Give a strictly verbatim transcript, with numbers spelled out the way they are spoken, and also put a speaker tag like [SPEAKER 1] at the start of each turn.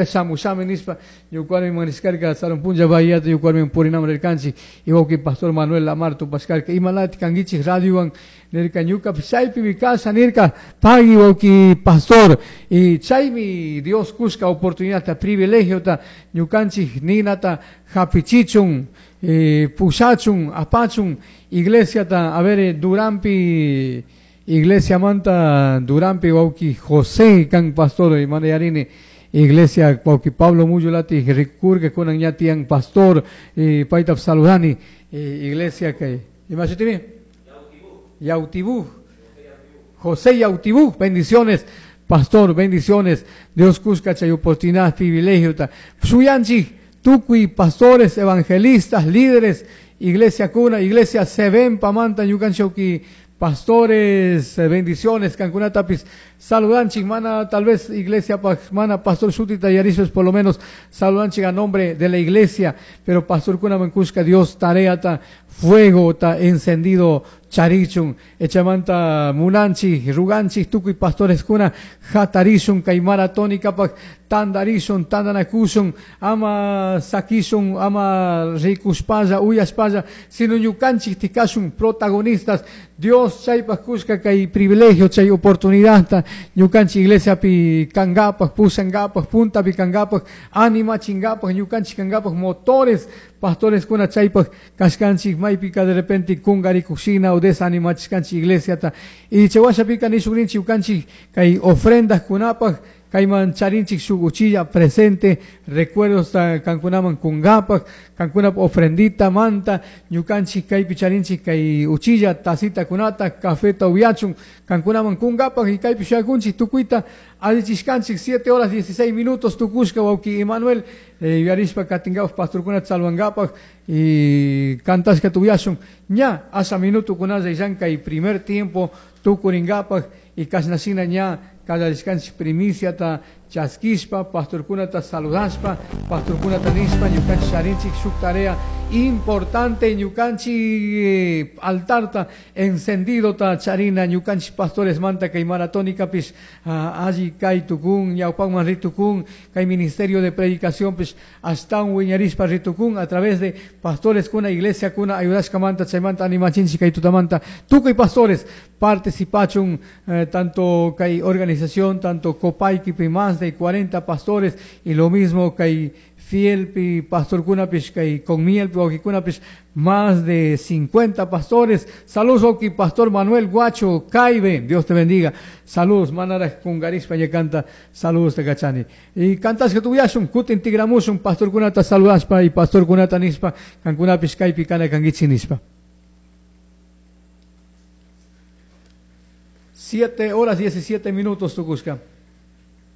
[SPEAKER 1] Shamushami nispa ñuqarmi maniskarka sarun punlla bahíata ñuqarmi purinam rirkanchik y pastor Manuel Lamar tupashkarka imalati kankichik radiowan nirka ñukapish chaypimi kasha nirka pagui wawki pastor y chaymi Dios kushka oportunidadta privilegiota ñukanchik ninata hapichichun eh, pushachun apachun iglesiata a ver Durampi iglesia manta Durampi wawki José kan pastor y mana yarini iglesia wawki Pablo Muyulati rikurka kunan ña tiyan pastor y payta saludani iglesia que ima shutimi Yautibú José Yautibú bendiciones pastor bendiciones Dios kushka chay oportunidad privilegio ta shuyanchik tukuy pastores evangelistas líderes iglesia kuna iglesia Seven pamanta ñukanchik pastores bendiciones kankunatapis saludanchik mana tal vez iglesia mana pastor shutita yarishpas por lo menos saludanchik a nombre de la iglesia pero pastor kunaman kushka Dios tareata fuego ta encendido charichun echamanta munanchik ruganchik tukuy pastores kuna hatarishun kay maratonikapaj tandarishun tandanakushun ama sakishun ama rikushpalla uyashpalla sino ñukanchik tikashun protagonistas Dios chaypaj kushka kay privilegio chay oportunidad ñukanchik iglesiapi kankapaj pushankapaj puntapi kankapaj animachinkapaj ñukanchik kankapaj motores pastores kuna chaypaj kashkanchik maypika de repente kungarikushina o desanimachishkanchik iglesiata y chay washapika nishukrinchik ñukanchik kay ofrendas kunapaj kayman charinchik shuk uchilla presente recuerdos kankunaman kunkapaj kankunap ofrendita manta ñukanchik kaypi charinchik kay uchilla tacita kunata cafeta upyachun kankunaman kunkapaj y kaypi shuyakunchik tukuyta allichishkanchik siete horas dieciséis minutos tukushka wawki Emanuel eh, yuyarishpa katinkapaj pastorkunata salvankapaj y kantashka upyashun ña asha minuto kunalla illan kay primer tiempo tukurinkapaj y kashnashina ña kallarishkanchik primiciata chaskishpa pastorkunata saludashpa pastorkunata nishpa ñukanchik charinchik shuk tarea importante ñukanchik altarta encendidota charina ñukanchik pastores manta kay maratonikapis alli kay tukun ñawpakman ritukun kay ministerio de predicación pis ashtawan wiñarishpa ritukun a través de pastores kuna iglesia kuna ayudashkamanta chaymanta animachinchik kay tutamanta tukuy pastores participachun eh, tanto kay organización tanto Copaiquipi más de cuarenta pastores y lo mismo kay Fielpi pastor kunapish kay Conmielpi wawqikunapis más de cincuenta pastores. Saludos wawqi pastor Manuel Guacho Caibe, Dios te bendiga. Saludos manaraj kungarishpa ña canta saludos te kachani. Y kantashka upyashun kutin tigramushun pastor kunata saludashpa y pastor kunata nishpa kankunapish kaypi kana kankichik nishpa. Siete horas diecisiete minutos tukushka.